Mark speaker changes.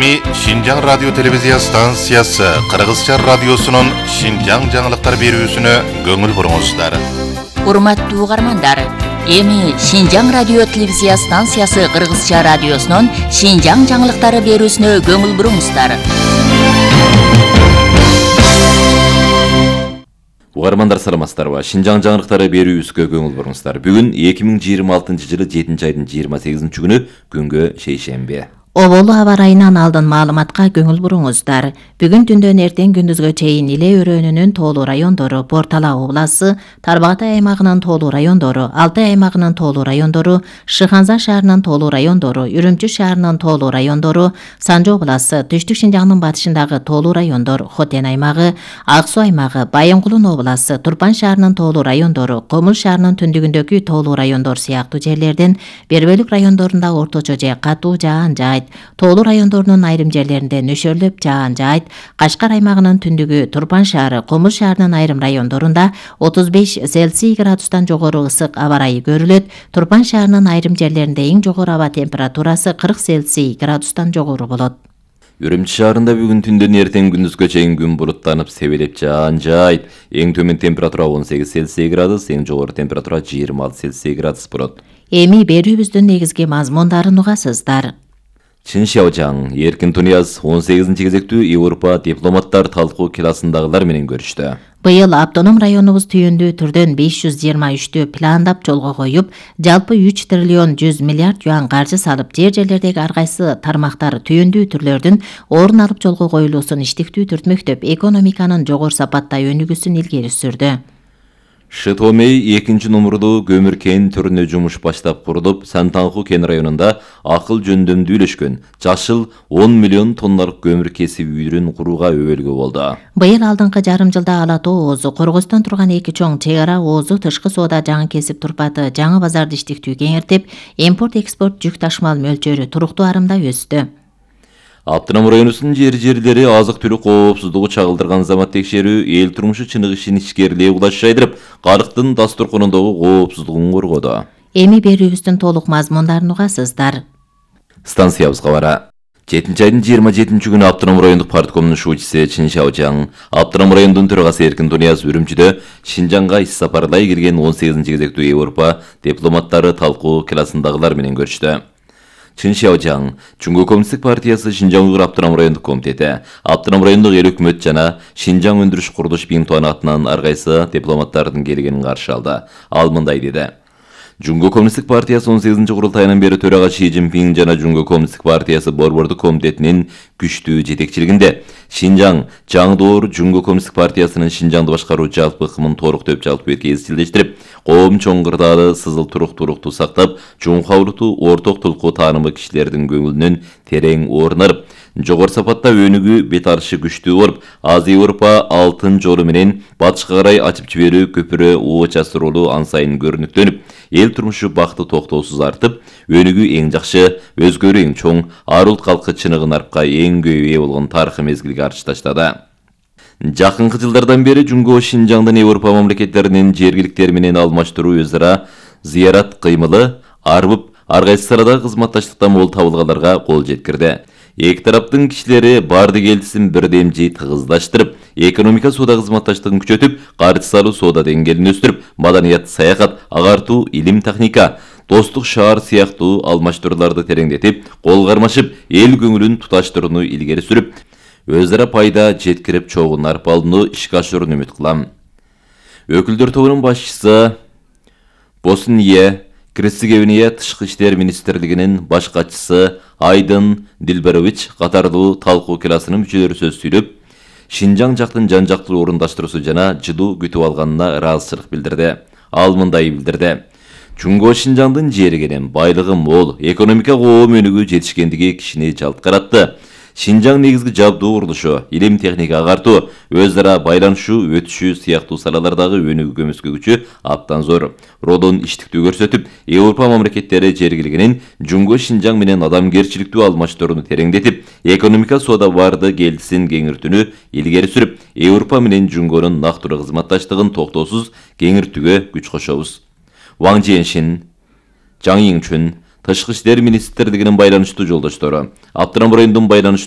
Speaker 1: Эми Шинжаң радио телевизия станциясы Кыргызча радиосунун Шинжаң жаңылыктар берүүсүнө көңүл буруңуздар.
Speaker 2: Урматтуу угармандар, эми Шинжаң радио телевизия станциясы Кыргызча радиосунун Шинжаң жаңылыктары берүүсүнө көңүл буруңуздар.
Speaker 3: Угармандар саламатсыздарбы? Шинжаң жаңылыктары берүүсүнө көңүл буруңуздар. Бүгүн 2026-жылы 7-айдын 28-күнү күнгө шейшемби.
Speaker 4: Оболу аба ырайынан алдын маалыматка көңүл буруңуздар. Бүгүн түндөн эртең күндүзгө чейин Иле өрөөнүнүн тоолуу райондору, Бортала обласы, Тарбагатай аймагынын тоолуу райондору, Алтай аймагынын тоолуу райондору, Шыханза шаарынын тоолуу райондору, Үрүмчү шаарынын тоолуу райондору, Санжы обласы, Түштүк Шинжаңдын батышындагы тоолуу райондор, Хотен аймагы, Ак Суу аймагы, Байымкулун обласы, Турпан шаарынын тоолуу райондору, Комул шаарынын түндүгүндөгү тоолуу райондор сыяктуу жерлерден бир бөлүк райондорунда орточо же катуу жаан жаайт. Тоолуу райондорунун айрым жерлеринде нөшөрлөп жаан жаайт. Кашкар аймагынын түндүгү, Турпан шаары, Комул шаарынын айрым райондорунда 35 Цельсий градустан жогору ысык аба ырайы көрүлөт. Турпан шаарынын айрым жерлеринде эң жогору аба температурасы 40 Цельсий градустан жогору болот.
Speaker 3: Үрүмчү шаарында бүгүн түндөн эртең күндүзгө чейин күн буруттанып, себелеп жаан жаайт. Эң төмөн температура 18 Цельсий градус, эң жогору температура 26 Цельсий градус болот.
Speaker 4: Эми берүүбүздүн негизги мазмундарын угасыздар.
Speaker 3: Чын Шаожаң, Эркин Тунияз 18-ci кезектүү Европа дипломаттар талкуу классындагылар менен көрүштү.
Speaker 4: Быйыл автоном районубуз түйүндүү түрдөн 523 пландап жолго коюп, жалпы 3 триллион 100 миллиард юан каржы салып, жерлердеги ар кайсы тармактар түйүндүү түрлөрдүн орун алып жолго коюлуусун иштиктүү түртмөктөп, экономиканын жогору сапатта өнүгүүсүн илгери сүрдү.
Speaker 3: Шытомей 2 номурдуу көмүр кен түрүнө жумуш баштап курулуп, Сантанху кен районунда акыл жөндөмдүү үйлөшкөн жашыл 10 миллион тонналык көмүр кесип үйрүн курууга өбөлгө болду.
Speaker 4: Быйыл алдыңкы жарым жылда Ала Тоо оозу, Коргостон турган эки чоң чек ара оозу тышкы соода жаңы кесип турпаты жаңы базарды иштиктүү кеңиртип, импорт-экспорт жүк ташымал мөлчөрү туруктуу арымда өстү.
Speaker 3: Аптынам районусунун жери-жерлери азык-түлүк коопсуздугу чагылдырган замат текшерүү эл турмушу чыныгышын ичкерилиğe улаш жайдырып, калктын дастурконундагы коопсуздугун коргоду.
Speaker 4: Эми берүүбүздүн толук мазмундарын угасыздар.
Speaker 3: Станциябызга бара. 7-айдын 27-күнү Аптынам райондук парткомунун шуучусу Чын Шаожаң, Аптынам районунун төрагасы Эркин Тунияз Үрүмчүдө Шинжаңга иш сапарлай кирген 18-ci кезектүү Европа дипломаттары талкуу классындагылар менен көрүштү. Чын Шаожаң, Чуңгу коммунисттик партиясы Шинжаң Уйгур Аптынам райондук комитети, Аптынам райондук эл өкмөт жана Шинжаң өндүрүш курулуш биңтуан атынан ар кайсы дипломаттардын келгенин каршы алды. Ал мындай деди. Чуңгу коммунисттик партиясы 18-ci курултайынан бери төрага Ши Цзиньпин жана Чуңгу коммунисттик партиясы борбордук комитетинин күчтүү жетекчилигинде Шинжаң жаңдоор Чуңгу коммунисттик партиясынын Шинжаңды башкаруу жалпы ыкмын толуктоп жалпы эрке изчилдештирип, коом чоң кырдаалы сызыл туруктуулукту сактап, чуңкаулукту орток тулкуу таанымы кишилердин көңүлүнөн терең орун алып, жогору сапатта өнүгүү бет алышы күчтүү болуп, Азия Европа алтын жолу менен батышка карай ачып жиберүү көпүрө ооча сурулуу ан сайын көрүнүктөнүп, эл турмушу бакыты токтоосуз артып, өнүгүү эң жакшы, өзгөрүү эң чоң, ар улт калкы чыныгын арпка эң көп ээ болгон тарыхый мезгилге арчы таштады. Жакынкы жылдардан бери Чуңгу Шинжаңдын Европа мамлекеттеринин жергиликтери менен алмаштыруу өз ара зыярат кыймылы арбып, ар кайсы арада кызматташтыкта мол табылгандарга кол жеткирди. Эки тараптын кишилери барды келдисин бирдемжи тыгыздаштырып, экономика соода кызматташтыгын күчөтүп, каржы салуу соода деңгээлин өстүрүп, маданият, саякат, агартуу, илим, техника, достук шаар сыяктуу алмаштырууларды тереңдетип, кол кармашып, эл көңүлүн туташтырууну илгери сүрүп, өз ара пайда жеткирип чогун арпалууну ишке ашырууну үмүт кылам. Өкүлдөр тобунун башчысы Босния Герцеговина Тышкы иштер министрлигинин баш катчысы Айдын Дилберович катарлуу талкуу классынын мүчөлөрү сөз сүйлөп, Шинжаң жактын жан-жактуу орундаштыруусу жана жылуу күтүп алганына ыраазычылык билдирди. Ал мындай билдирди. Чуңгу Шинжаңдын жери кенен, байлыгы мол, экономика коом өнүгүү жетишкендиги кишини жалт каратты. Шинжаң негизги жабдуу курулушу, илим, техника агартуу, өз ара байланышуу, өтүшүү сыяктуу салалардагы өнүгүү көмөскө күчү абдан зор. Родон иштиктүү көрсөтүп, Европа мамлекеттери жергилигинин Чуңгу Шинжаң менен адамгерчиликтүү алмаштырууну тереңдетип, экономика соода барды келдисин кеңиртүүнү илгери сүрүп, Европа менен Чуңгунун нактуу кызматташтыгын токтоосуз кеңиртүүгө күч кошобуз. Ваң Жиэншин, Жаң Йиңчүн, Тышкы иштер министрлигинин байланыштуу жолдоштору, Аптынам районунун байланыштуу